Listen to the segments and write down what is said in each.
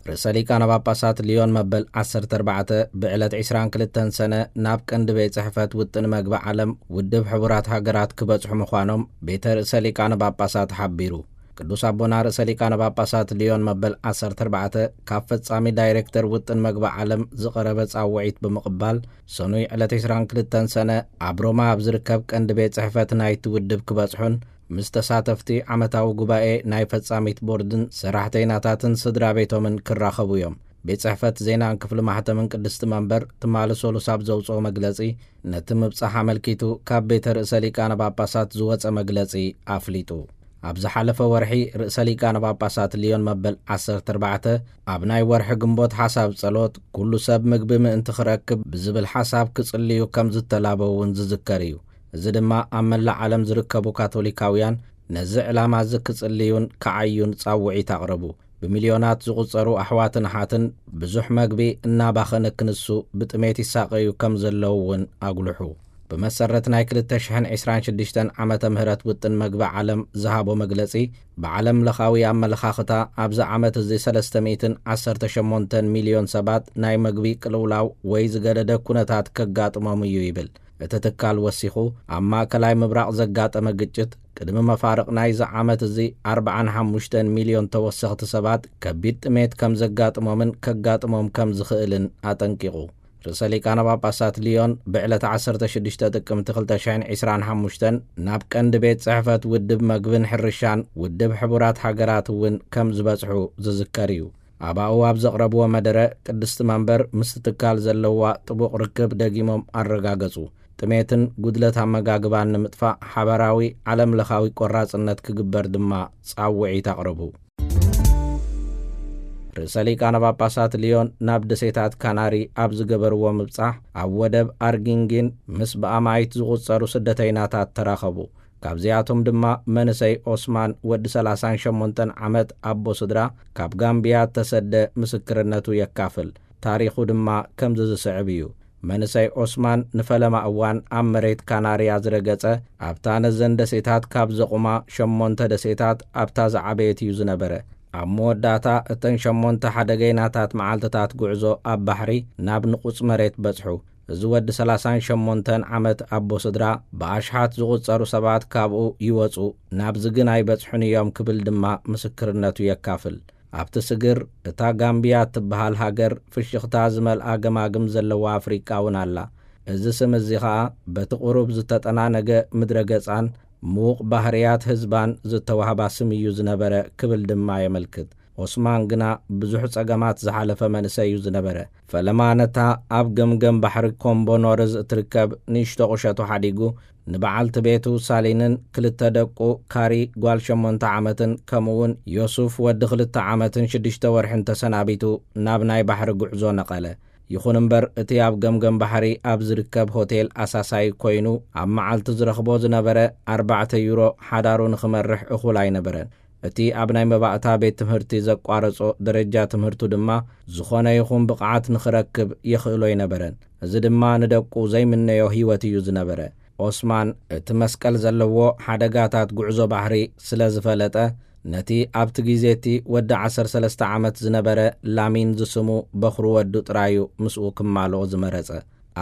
ርእሰ ሊቃነ ጳጳሳት ሊዮን መበል ዓሰርተ ኣርባዕተ ብዕለት ዕስራን ክልተን ሰነ ናብ ቀንዲ ቤት ጽሕፈት ውጥን መግቢ ዓለም ውድብ ሕቡራት ሃገራት ክበጽሑ ምዃኖም ቤተ ርእሰ ሊቃነ ጳጳሳት ሓቢሩ። ቅዱስ ኣቦና ርእሰ ሊቃነ ጳጳሳት ሊዮን መበል ዓሰርተ ኣርባዕተ ካብ ፈጻሚ ዳይሬክተር ውጥን መግቢ ዓለም ዝቐረበ ጻውዒት ብምቕባል፣ ሰኑይ ዕለት ዕስራን ክልተን ሰነ ኣብ ሮማ ኣብ ዝርከብ ቀንዲ ቤት ጽሕፈት ናይቲ ውድብ ክበጽሑን ምስ ተሳተፍቲ ዓመታዊ ጉባኤ ናይ ፈጻሚት ቦርድን ሰራሕተይናታትን ስድራ ቤቶምን ክራኸቡ እዮም። ቤት ጽሕፈት ዜናን ክፍሊ ማሕተምን ቅድስቲ መንበር ትማሊ ሰሉስ ኣብ ዘውፅኦ መግለጺ፣ ነቲ ምብጻሕ ኣመልኪቱ ካብ ቤተ ርእሰ ሊቃነ ጳጳሳት ዝወጸ መግለጺ ኣፍሊጡ። ኣብ ዝሓለፈ ወርሒ ርእሰ ሊቃነ ጳጳሳት ሊዮን መበል ዓሰርተ ኣርባዕተ ኣብ ናይ ወርሒ ግንቦት ሓሳብ ጸሎት፣ ኩሉ ሰብ ምግቢ ምእንቲ ክረክብ ብዝብል ሓሳብ ክጽልዩ ከም ዝተላበው እውን ዝዝከር እዩ። እዚ ድማ ኣብ መላእ ዓለም ዝርከቡ ካቶሊካውያን ነዚ ዕላማ እዚ ክጽልዩን ክዓዩን ጻውዒት ኣቕረቡ። ብሚልዮናት ዝቑጸሩ ኣሕዋትን ኣሓትን ብዙሕ መግቢ እናባኸነ ክንሱ ብጥሜት ይሳቐዩ ከም ዘለዉ እውን ኣጉልሑ። ብመሰረት ናይ ክልተ ሽሕን ዕስራን ሽዱሽተን ዓመተ ምህረት ውጥን መግቢ ዓለም ዝሃቦ መግለጺ፣ ብዓለም ለኻዊ ኣመለኻኽታ ኣብዚ ዓመት እዚ ሰለስተ ሚእትን ዓሰርተ ሸሞንተን ሚልዮን ሰባት ናይ መግቢ ቅልውላው ወይ ዝገደደ ኩነታት ከጋጥሞም እዩ ይብል። እቲ ትካል ወሲኹ፣ ኣብ ማእከላይ ምብራቕ ዘጋጠመ ግጭት ቅድሚ መፋርቕ ናይዚ ዓመት እዚ ኣርባዓን ሓሙሽተን ሚልዮን ተወሰኽቲ ሰባት ከቢድ ጥሜት ከም ዘጋጥሞምን ከጋጥሞም ከም ዝኽእልን ኣጠንቂቑ። ርእሰ ሊቃነ ጳጳሳት ሊዮን ብዕለት ዓሰርተ ሽዱሽተ ጥቅምቲ ክልተ ሽሕን ዕስራን ሓሙሽተን ናብ ቀንዲ ቤት ጽሕፈት ውድብ መግብን ሕርሻን ውድብ ሕቡራት ሃገራት እውን ከም ዝበጽሑ ዝዝከር እዩ። ኣባኡ ኣብ ዘቕረብዎ መደረ፣ ቅድስቲ መንበር ምስቲ ትካል ዘለዋ ጥቡቕ ርክብ ደጊሞም ኣረጋገጹ። ጥሜትን ጉድለት ኣመጋግባን ንምጥፋእ ሓበራዊ ዓለም ለኻዊ ቆራጽነት ክግበር ድማ ጻውዒት ኣቕረቡ። ርእሰ ሊቃነ ጳጳሳት ሊዮን ናብ ደሴታት ካናሪ ኣብ ዝገበርዎ ምብጻሕ፣ ኣብ ወደብ ኣርጊንጊን ምስ ብኣማይት ዝቑጸሩ ስደተይናታት ተራኸቡ። ካብዚኣቶም ድማ መንእሰይ ኦስማን፣ ወዲ ሰላሳን ሸሞንተን ዓመት ኣቦ ስድራ፣ ካብ ጋምብያ እተሰደ ምስክርነቱ የካፍል። ታሪኹ ድማ ከምዚ ዝስዕብ እዩ። መንእሰይ ኦስማን ንፈለማ እዋን ኣብ መሬት ካናርያ ዝረገጸ፣ ኣብታ ነዘን ደሴታት ካብ ዘቑማ ሸሞንተ ደሴታት ኣብታ ዝዓበየት እዩ ዝነበረ። ኣብ መወዳእታ፣ እተን ሸሞንተ ሓደገይናታት መዓልትታት ጉዕዞ ኣብ ባሕሪ ናብ ንቑጽ መሬት በጽሑ። እዚ ወዲ ሰላሳን ሸሞንተን ዓመት ኣቦ ስድራ፣ ብኣሽሓት ዝቑጸሩ ሰባት ካብኡ ይወጹ፣ ናብዚ ግን ኣይበጽሑን እዮም ክብል ድማ ምስክርነቱ የካፍል። ኣብቲ ስግር፣ እታ ጋምብያ እትበሃል ሃገር፣ ፍሽኽታ ዝመልኣ ገማግም ዘለዋ ኣፍሪቃ እውን ኣላ። እዚ ስም እዚ ኸኣ በቲ ቁሩብ ዝተጠናነገ ምድረ ገጻን ምዉቕ ባህርያት ህዝባን ዝተዋህባ ስም እዩ ዝነበረ ክብል ድማ የመልክት። ኦስማን ግና ብዙሕ ጸገማት ዝሓለፈ መንእሰይ እዩ ዝነበረ። ፈለማ ነታ ኣብ ገምገም ባሕሪ ኮምቦ ኖርዝ እትርከብ ንእሽቶ ቁሸቱ ሓዲጉ፣ ንበዓልቲ ቤቱ ሳሊንን ክልተ ደቁ ካሪ ጓል ሸሞንተ ዓመትን ከምኡውን ዮሱፍ ወዲ ክልተ ዓመትን ሽዱሽተ ወርሕን ተሰናቢቱ ናብ ናይ ባሕሪ ጉዕዞ ነቐለ። ይኹን እምበር፣ እቲ ኣብ ገምገም ባሕሪ ኣብ ዝርከብ ሆቴል ኣሳሳይ ኮይኑ ኣብ መዓልቲ ዝረኽቦ ዝነበረ ኣርባዕተ ዩሮ ሓዳሩ ንኽመርሕ እኹል ኣይነበረን። እቲ ኣብ ናይ መባእታ ቤት ትምህርቲ ዘቋረጾ ደረጃ ትምህርቱ ድማ ዝኾነ ይኹን ብቕዓት ንኽረክብ የኽእሎ ኣይነበረን። እዚ ድማ ንደቁ ዘይምነዮ ህይወት እዩ ዝነበረ። ኦስማን እቲ መስቀል ዘለዎ ሓደጋታት ጉዕዞ ባሕሪ ስለ ዝፈለጠ፣ ነቲ ኣብቲ ግዜ እቲ ወዲ ዓሰርተ ሰለስተ ዓመት ዝነበረ ላሚን ዝስሙ በኹሪ ወዱ ጥራዩ ምስኡ ክማልኦ ዝመረጸ።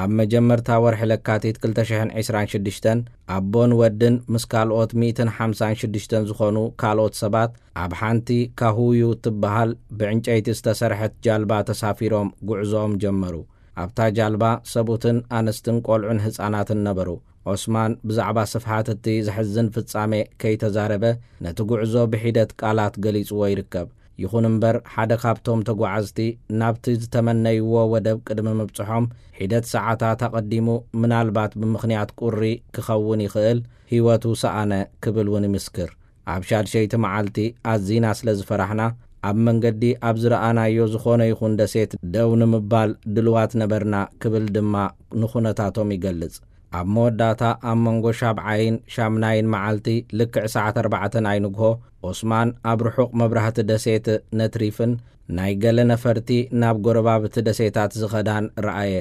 ኣብ መጀመርታ ወርሒ ለካቲት ክልተ ሽሕን ዕስራን ሽዱሽተን፣ ኣቦን ወድን ምስ ካልኦት ሚእትን ሓምሳን ሽዱሽተን ዝኾኑ ካልኦት ሰባት ኣብ ሓንቲ ካሁዩ እትበሃል ብዕንጨይቲ ዝተሰርሐት ጃልባ ተሳፊሮም ጉዕዞኦም ጀመሩ። ኣብታ ጃልባ ሰብኡትን ኣንስትን ቆልዑን ህጻናትን ነበሩ። ኦስማን ብዛዕባ ስፍሓት እቲ ዘሕዝን ፍጻሜ ከይተዛረበ፣ ነቲ ጉዕዞ ብሒደት ቃላት ገሊጽዎ ይርከብ። ይኹን እምበር፣ ሓደ ካብቶም ተጓዓዝቲ ናብቲ ዝተመነይዎ ወደብ ቅድሚ ምብጽሖም ሒደት ሰዓታት ኣቐዲሙ፣ ምናልባት ብምኽንያት ቁሪ ክኸውን ይኽእል፣ ህይወቱ ሰኣነ ክብል እውን ይምስክር። ኣብ ሻድሸይቲ መዓልቲ ኣዚና ስለ ዝፈራሕና፣ ኣብ መንገዲ ኣብ ዝረኣናዮ ዝኾነ ይኹን ደሴት ደው ንምባል ድልዋት ነበርና ክብል ድማ ንኹነታቶም ይገልጽ። ኣብ መወዳእታ፣ ኣብ መንጎ ሻብዓይን ሻምናይን መዓልቲ፣ ልክዕ ሰዓት ኣርባዕተ ናይ ንግሆ፣ ኦስማን ኣብ ርሑቕ መብራህቲ ደሴት ነትሪፍን ናይ ገለ ነፈርቲ ናብ ጎረባብቲ ደሴታት ዝኸዳን ረኣየ።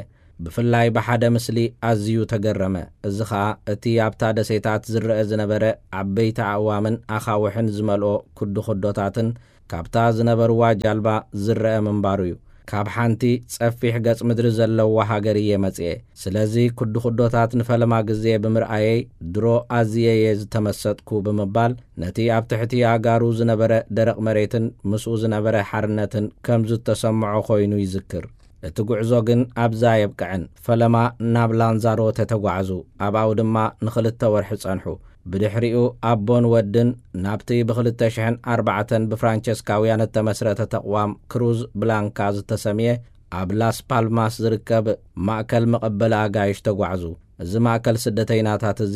ብፍላይ ብሓደ ምስሊ ኣዝዩ ተገረመ። እዚ ኸኣ፣ እቲ ኣብታ ደሴታት ዝረአ ዝነበረ ዓበይቲ ኣእዋምን ኣኻውሕን ዝመልኦ ኩድኹዶታትን ካብታ ዝነበርዋ ጃልባ ዝረአ ምንባሩ እዩ። ካብ ሓንቲ ጸፊሕ ገጽ ምድሪ ዘለዋ ሃገር እየ መጽኤ። ስለዚ ኩድኩዶታት ንፈለማ ግዜ ብምርኣየይ ድሮ ኣዝየ እየ ዝተመሰጥኩ ብምባል ነቲ ኣብ ትሕቲ ኣእጋሩ ዝነበረ ደረቕ መሬትን ምስኡ ዝነበረ ሓርነትን ከም ዝተሰምዖ ኮይኑ ይዝክር። እቲ ጉዕዞ ግን ኣብዛ ኣየብቅዐን። ፈለማ ናብ ላንዛሮተ ተጓዕዙ። ኣብኣው ድማ ንኽልተ ወርሒ ጸንሑ። ብድሕሪኡ ኣቦን ወድን ናብቲ ብ2004 ብፍራንቸስካውያን እተመስረተ ተቕዋም ክሩዝ ብላንካ ዝተሰምየ ኣብ ላስ ፓልማስ ዝርከብ ማእከል መቐበሊ ኣጋይሽ ተጓዕዙ። እዚ ማእከል ስደተይናታት እዚ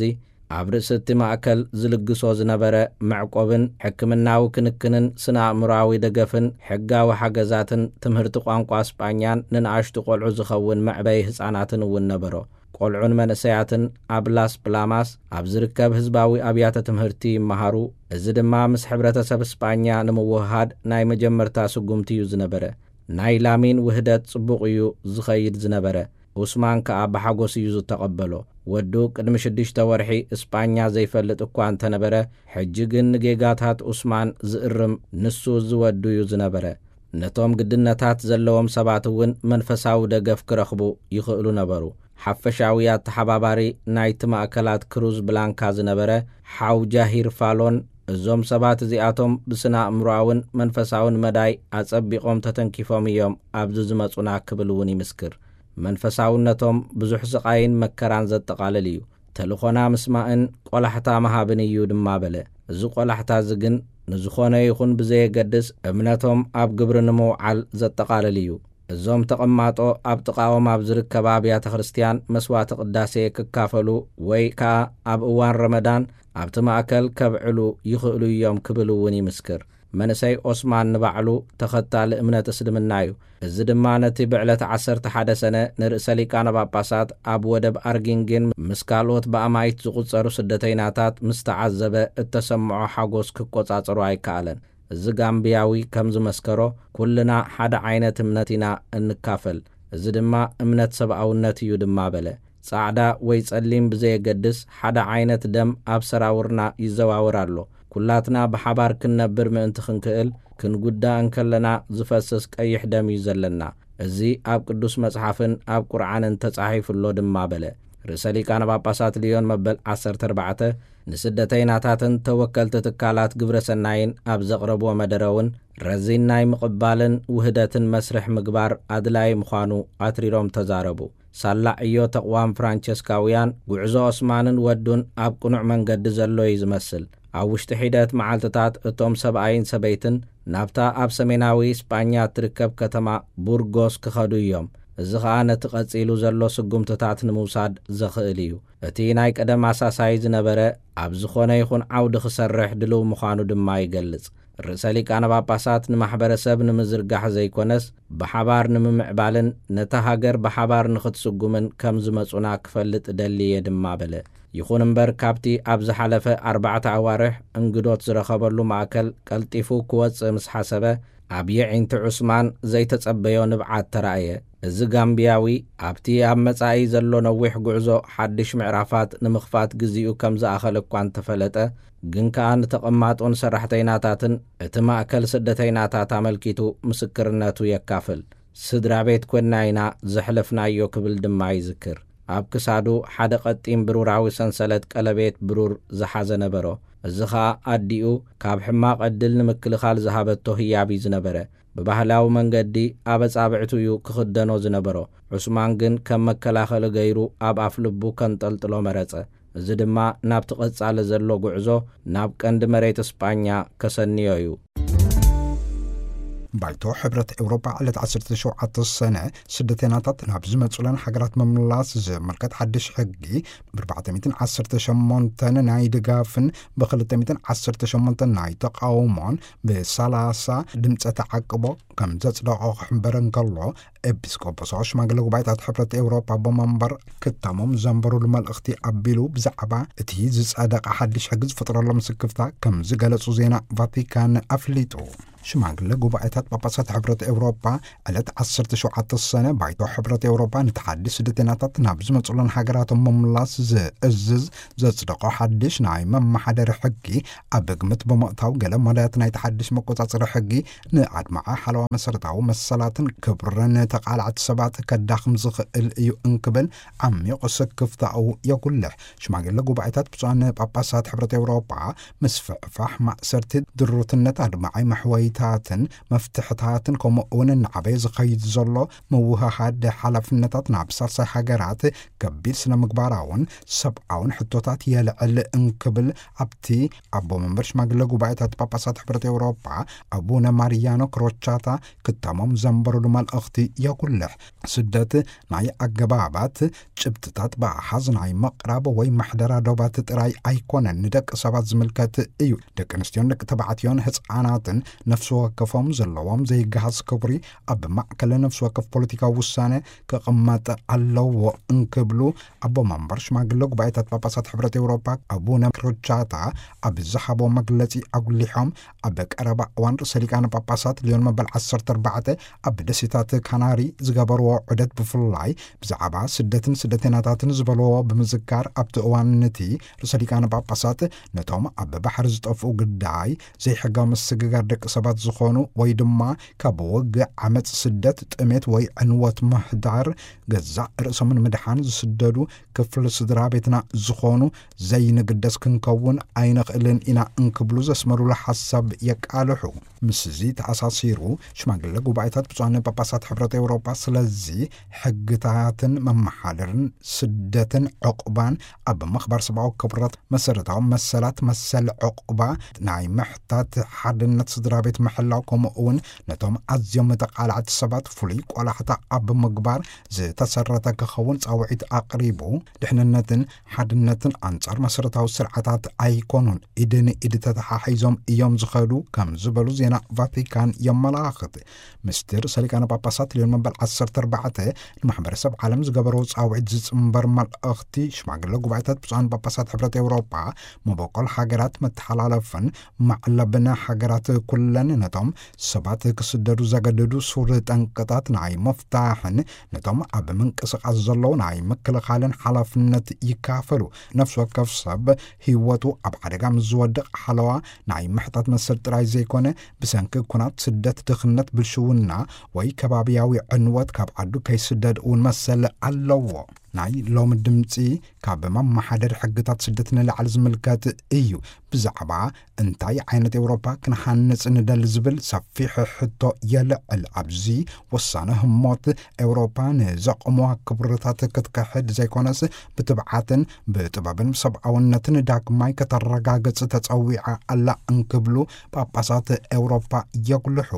ኣብ ርእሲ እቲ ማእከል ዝልግሶ ዝነበረ መዕቆብን ሕክምናዊ ክንክንን ስነ ኣእምሮኣዊ ደገፍን ሕጋዊ ሓገዛትን ትምህርቲ ቋንቋ ስጳኛን ንንኣሽቱ ቆልዑ ዝኸውን መዕበይ ህጻናትን እውን ነበሮ። ቆልዑን መንእሰያትን ኣብ ላስ ፕላማስ ኣብ ዝርከብ ህዝባዊ ኣብያተ ትምህርቲ ይመሃሩ። እዚ ድማ ምስ ሕብረተሰብ ስጳኛ ንምውህሃድ ናይ መጀመርታ ስጉምቲ እዩ ዝነበረ። ናይ ላሚን ውህደት ጽቡቕ እዩ ዝኸይድ ዝነበረ። ኡስማን ከኣ ብሓጎስ እዩ ዝተቐበሎ። ወዱ ቅድሚ ሽዱሽተ ወርሒ እስጳኛ ዘይፈልጥ እኳ እንተነበረ፣ ሕጂ ግን ንጌጋታት ኡስማን ዝእርም ንሱ ዝወዱ እዩ ዝነበረ። ነቶም ግድነታት ዘለዎም ሰባት እውን መንፈሳዊ ደገፍ ክረኽቡ ይኽእሉ ነበሩ። ሓፈሻዊ ኣተሓባባሪ ናይቲ ማእከላት ክሩዝ ብላንካ ዝነበረ ሓው ጃሂር ፋሎን፣ እዞም ሰባት እዚኣቶም ብስነ ኣእምሮኣውን መንፈሳውን መዳይ ኣጸቢቖም ተተንኪፎም እዮም ኣብዚ ዝመጹና ክብል እውን ይምስክር። መንፈሳውነቶም ብዙሕ ስቓይን መከራን ዘጠቓልል እዩ። ተልኾና ምስማእን ቆላሕታ ምሃብን እዩ ድማ በለ። እዚ ቆላሕታ እዚ ግን ንዝኾነ ይኹን ብዘየገድስ እምነቶም ኣብ ግብሪ ንምውዓል ዘጠቓልል እዩ። እዞም ተቐማጦ ኣብ ጥቓኦም ኣብ ዝርከባ ኣብያተ ክርስትያን መስዋዕቲ ቅዳሴ ክካፈሉ ወይ ከኣ ኣብ እዋን ረመዳን ኣብቲ ማእከል ከብዕሉ ይኽእሉ እዮም ክብል እውን ይምስክር። መንእሰይ ኦስማን ንባዕሉ ተኸታሊ እምነት እስልምና እዩ። እዚ ድማ ነቲ ብዕለት ዓሰርተ ሓደ ሰነ ንርእሰ ሊቃነ ጳጳሳት ኣብ ወደብ ኣርጊንጊን ምስ ካልኦት ብኣማኢት ዝቑጸሩ ስደተይናታት ምስ ተዓዘበ እተሰምዖ ሓጎስ ክቆጻጸሮ ኣይከኣለን። እዚ ጋምብያዊ ከም ዝመስከሮ፣ ኩልና ሓደ ዓይነት እምነት ኢና እንካፈል። እዚ ድማ እምነት ሰብኣውነት እዩ ድማ በለ። ጻዕዳ ወይ ጸሊም ብዘየገድስ ሓደ ዓይነት ደም ኣብ ሰራውርና ይዘዋወር ኣሎ። ኩላትና ብሓባር ክንነብር ምእንቲ ክንክእል፣ ክንጉዳእ እንከለና ዝፈስስ ቀይሕ ደም እዩ ዘለና። እዚ ኣብ ቅዱስ መጽሓፍን ኣብ ቁርዓንን ተጻሒፉ ኣሎ ድማ በለ። ርእሰ ሊቃነ ጳጳሳት ልዮን መበል ዓሰርተ ኣርባዕተ ንስደተይናታትን ተወከልቲ ትካላት ግብረ ሰናይን ኣብ ዘቕረብዎ መደረ እውን ረዚን ናይ ምቕባልን ውህደትን መስርሕ ምግባር ኣድላዪ ምዃኑ ኣትሪሮም ተዛረቡ። ሳላ ዕዮ ተቕዋም ፍራንቸስካውያን፣ ጉዕዞ ኦስማንን ወዱን ኣብ ቅኑዕ መንገዲ ዘሎ እዩ ዝመስል። ኣብ ውሽጢ ሒደት መዓልትታት እቶም ሰብኣይን ሰበይትን ናብታ ኣብ ሰሜናዊ ስጳኛ እትርከብ ከተማ ቡርጎስ ክኸዱ እዮም። እዚ ኸኣ ነቲ ቀጺሉ ዘሎ ስጉምትታት ንምውሳድ ዘኽእል እዩ። እቲ ናይ ቀደም ኣሳሳይ ዝነበረ ኣብ ዝኾነ ይኹን ዓውዲ ክሰርሕ ድልው ምዃኑ ድማ ይገልጽ። ርእሰ ሊቃነ ጳጳሳት ንማሕበረሰብ ንምዝርጋሕ ዘይኮነስ፣ ብሓባር ንምምዕባልን ነታ ሃገር ብሓባር ንኽትስጉምን ከም ዝመጹና ክፈልጥ እደሊ እየ ድማ በለ። ይኹን እምበር፣ ካብቲ ኣብ ዝሓለፈ ኣርባዕተ ኣዋርሕ እንግዶት ዝረኸበሉ ማእከል ቀልጢፉ ክወጽእ ምስ ሓሰበ፣ ኣብ የዒንቲ ዑስማን ዘይተጸበዮ ንብዓት ተራእየ። እዚ ጋምብያዊ ኣብቲ ኣብ መጻኢ ዘሎ ነዊሕ ጉዕዞ ሓድሽ ምዕራፋት ንምኽፋት ግዜኡ ከም ዝኣኸለ እኳ እንተፈለጠ፣ ግን ከኣ ንተቐማጦን ሰራሕተይናታትን እቲ ማእከል ስደተይናታት ኣመልኪቱ ምስክርነቱ የካፍል። ስድራ ቤት ኮንና ኢና ዘሕለፍናዮ ክብል ድማ ይዝክር። ኣብ ክሳዱ ሓደ ቀጢን ብሩራዊ ሰንሰለት ቀለቤት ብሩር ዝሓዘ ነበሮ። እዚ ኸኣ ኣዲኡ ካብ ሕማቕ ዕድል ንምክልኻል ዝሃበቶ ህያብ እዩ ዝነበረ። ብባህላዊ መንገዲ ኣብ ኣጻብዕቱ እዩ ክኽደኖ ዝነበሮ። ዑስማን ግን ከም መከላኸሊ ገይሩ ኣብ ኣፍ ልቡ ከንጠልጥሎ መረጸ። እዚ ድማ ናብቲ ቀጻሊ ዘሎ ጉዕዞ ናብ ቀንዲ መሬት እስጳኛ ከሰንዮ እዩ። ባይቶ ሕብረት ኤውሮጳ ዕለት ዓሰርተ ሸውዓተ ሰነ ስደተይናታት ናብ ዝመጹለን ሃገራት ምምላስ ዝምልከት ሓድሽ ሕጊ ብ418 ናይ ድጋፍን ብ218 ናይ ተቃውሞን ብ30 ድምፀ ተዓቅቦ ከም ዘጽደቆ ክሕበር እንከሎ፣ ኤጲስቆጶሳት ሽማግለ ጉባኤታት ሕብረት ኤውሮጳ ኣቦ መንበር ክታሞም ዘንበሩሉ መልእኽቲ ኣቢሉ ብዛዕባ እቲ ዝጸደቐ ሓድሽ ሕጊ ዝፈጥረሎም ስክፍታ ከም ዝገለጹ ዜና ቫቲካን ኣፍሊጡ። ሽማግለ ጉባኤታት ጳጳሳት ሕብረት ኤውሮጳ ዕለት ዓሰርተ ሸውዓተ ሰነ ባይቶ ሕብረት ኤውሮጳ ንተሓዲ ስደተኛታት ናብ ዝመጽኡለን ሃገራቶም ምምላስ ዝእዝዝ ዘጽደቆ ሓድሽ ናይ መመሓደሪ ሕጊ ኣብ ግምት ብምእታው፣ ገለ መዳያት ናይቲ ሓድሽ መቆጻጸሪ ሕጊ ንኣድማዒ ሓለዋ መሰረታዊ መሰላትን ክብርን ተቓላዕቲ ሰባት ከዳኽም ዝኽእል እዩ እንክብል ዓሚቕ ስክፍታኡ የጉልሕ። ሽማግለ ጉባኤታት ብፁዓን ጳጳሳት ሕብረት ኤውሮጳ ምስፍሕፋሕ ማእሰርቲ፣ ድሩትነት፣ ኣድማዒ መሕወይታትን መፍትሕታትን፣ ከምኡ እውን እናዓበየ ዝኸይድ ዘሎ ምውህሃድ ሓላፍነታት ናብ ሳልሳይ ሃገራት ከቢድ ስነ ምግባራውን ሰብኣውን ሕቶታት የልዕል እንክብል ኣብቲ ኣቦ መንበር ሽማግለ ጉባኤታት ጳጳሳት ሕብረት ኤውሮጳ ኣቡነ ማሪያኖ ክሮቻታ ክታሞም ዘንበሩሉ መልእኽቲ የጉልሕ። ስደት ናይ ኣገባባት ጭብጥታት ብኣሓዝ ናይ ምቕራብ ወይ ምሕደራ ዶባት ጥራይ ኣይኮነን፣ ንደቂ ሰባት ዝምልከት እዩ። ደቂ ኣንስትዮን ደቂ ተባዕትዮን ህፃናትን ነፍሲ ወከፎም ዘለዎም ዘይገሃስ ክብሪ ኣብ ማእከል ነፍሲ ወከፍ ፖለቲካዊ ውሳነ ክቕመጥ ኣለዎ እንክብሉ ኣቦ መንበር ሽማግለ ጉባኤታት ጳጳሳት ሕብረት ኤውሮጳ ኣቡነ ክሮቻታ ኣብ ዝሃቦ መግለጺ ኣጉሊሖም፣ ኣብ ቀረባ እዋን ርእሰ ሊቃነ ጳጳሳት ሊዮን መበል ዓሰርተ ኣርባዕተ ኣብ ደሴታት ካናሪ ዝገበርዎ ዑደት፣ ብፍላይ ብዛዕባ ስደትን ስደተኛታትን ዝበልዎ ብምዝካር፣ ኣብቲ እዋን ነቲ ርእሰ ሊቃነ ጳጳሳት ነቶም ኣብ ባሕሪ ዝጠፍኡ ግዳይ ዘይሕጋዊ ምስግጋር ደቂ ሰባት ዝኾኑ ወይ ድማ ካብ ውግእ፣ ዓመጽ፣ ስደት፣ ጥሜት ወይ ዕንወት ምህዳር ገዛእ ርእሶምን ምድሓን ዝስደዱ ክፍሊ ስድራ ቤትና ዝኾኑ ዘይንግደስ ክንከውን ኣይንኽእልን ኢና እንክብሉ ዘስመሩሉ ሓሳብ የቃልሑ። ምስዚ ተኣሳሲሩ፣ ሽማግለ ጉባኤታት ብፁዓን ጳጳሳት ሕብረት ኤውሮጳ ስለዚ ሕግታትን መመሓደርን ስደትን ዕቑባን ኣብ ምኽባር ሰብኣዊ ክብረት፣ መሰረታዊ መሰላት፣ መሰል ዕቑባ፣ ናይ ምሕታት ሓድነት ስድራ ቤት ምሕላው፣ ከምኡ እውን ነቶም ኣዝዮም ተቓላዕቲ ሰባት ፍሉይ ቆላሕታ ኣብ ምግባር ዝተሰረተ ክኸውን ጻውዒት ኣቕሪቡ፣ ድሕንነትን ሓድነትን ኣንጻር መሰረታዊ ስርዓታት ኣይኮኑን፣ ኢድ ንኢድ ተተሓሒዞም እዮም ዝኸዱ ከም ዝበሉ ዜና ቫቲካን የመላኽት። ምስቲ ርእሰ ሊቃነ ጳጳሳት ሊዮን መበል ዓሰርተ ኣርባዕተ ንማሕበረሰብ ዓለም ዝገበሮ ጻውዒት ዝጽንበር መልእኽቲ ሽማግለ ጉባኤታት ብፁዓን ጳጳሳት ሕብረት ኤውሮጳ፣ መበቆል ሃገራት መተሓላለፍን ማዕለብን ሃገራት ኩለን ነቶም ሰባት ክስደዱ ዘገድዱ ሱር ጠንቅታት ናይ ምፍታሕን ነቶም ኣብ ምንቅስቓስ ዘለዉ ናይ ምክልኻልን ሓላፍነት ይካፈሉ። ነፍሲ ወከፍ ሰብ ህይወቱ ኣብ ሓደጋ ምስ ዝወድቕ ሓለዋ ናይ ምሕታት መሰል ጥራይ ዘይኮነ፣ ብሰንኪ ኩናት፣ ስደት፣ ድኽነት፣ ብልሽውና ወይ ከባብያዊ ዕንወት ካብ ዓዱ ከይስደድ እውን መሰል ኣለዎ። ናይ ሎሚ ድምጺ ካብ መመሓደሪ ሕግታት ስደት ንላዕሊ ዝምልከት እዩ። ብዛዕባ እንታይ ዓይነት ኤውሮፓ ክንሃንጽ ንደሊ ዝብል ሰፊሕ ሕቶ የልዕል። ኣብዚ ወሳነ ህሞት፣ ኤውሮፓ ንዘቕምዋ ክብርታት ክትክሕድ ዘይኮነስ፣ ብትብዓትን ብጥበብን ሰብኣውነትን ዳግማይ ከተረጋግጽ ተጸዊዓ ኣላ እንክብሉ ጳጳሳት ኤውሮፓ የጉልሑ።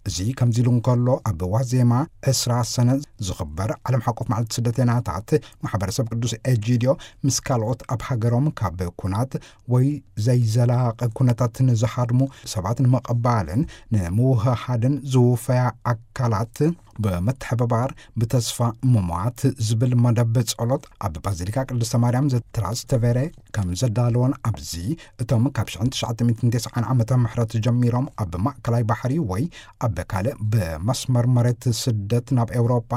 እዚ ከምዚ ኢሉ እንከሎ፣ ኣብ ዋዜማ ዕስራ ሰነ ዝኽበር ዓለም ሓቆፍ መዓልቲ ስደተኛታት፣ ማሕበረሰብ ቅዱስ ኤጂድዮ ምስ ካልኦት ኣብ ሃገሮም ካብ ኩናት ወይ ዘይዘላቂ ኩነታት ንዝሃድሙ ሰባት ንምቕባልን ንምውህሃድን ዝውፈያ ኣካላት ብምትሕብባር፣ ብተስፋ ምሟት ዝብል መደብ ጸሎት ኣብ ባዚሊካ ቅድስተ ማርያም ዘትራስተቬሬ ከም ዘዳለወን፣ ኣብዚ እቶም ካብ ሽሕን ትሽዓተ ሚእትን ተስዓን ዓመተ ምሕረት ጀሚሮም ኣብ ማእከላይ ባሕሪ ወይ ኣብ ካልእ ብመስመር መሬት ስደት ናብ ኤውሮጳ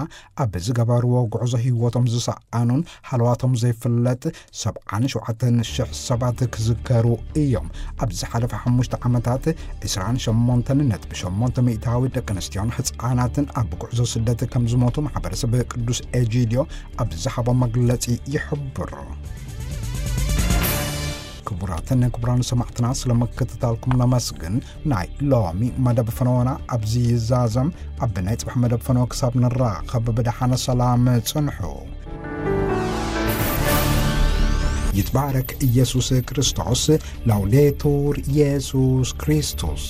ኣብ ዝገበርዎ ጉዕዞ ህይወቶም ዝሰኣኑን ሃለዋቶም ዘይፍለጥ ሰብዓን ሸውዓተን ሽሕ ሰባት ክዝከሩ እዮም። ኣብ ዝሓለፈ ሓሙሽተ ዓመታት፣ ዕስራን ሸሞንተን ነጥቢ ሸሞንተ ሚእታዊ ደቂ ኣንስትዮን ህጻናትን ኣብ ጉዕዞ ስደት ከም ዝሞቱ ማሕበረሰብ ቅዱስ ኤጂድዮ ኣብ ዝሃቦ መግለጺ ይሕብር። ክቡራትን ክቡራን ሰማዕትና፣ ስለ ምክትታልኩም ነመስግን። ናይ ሎሚ መደብ ፈነወና ኣብዚ ይዛዘም። ኣብ ናይ ጽባሕ መደብ ፈነወ ክሳብ ንራኸብ፣ ብደሓነ ሰላም ጽንሑ። ይትባረክ ኢየሱስ ክርስቶስ። ላውዴቱር ኢየሱስ ክርስቶስ።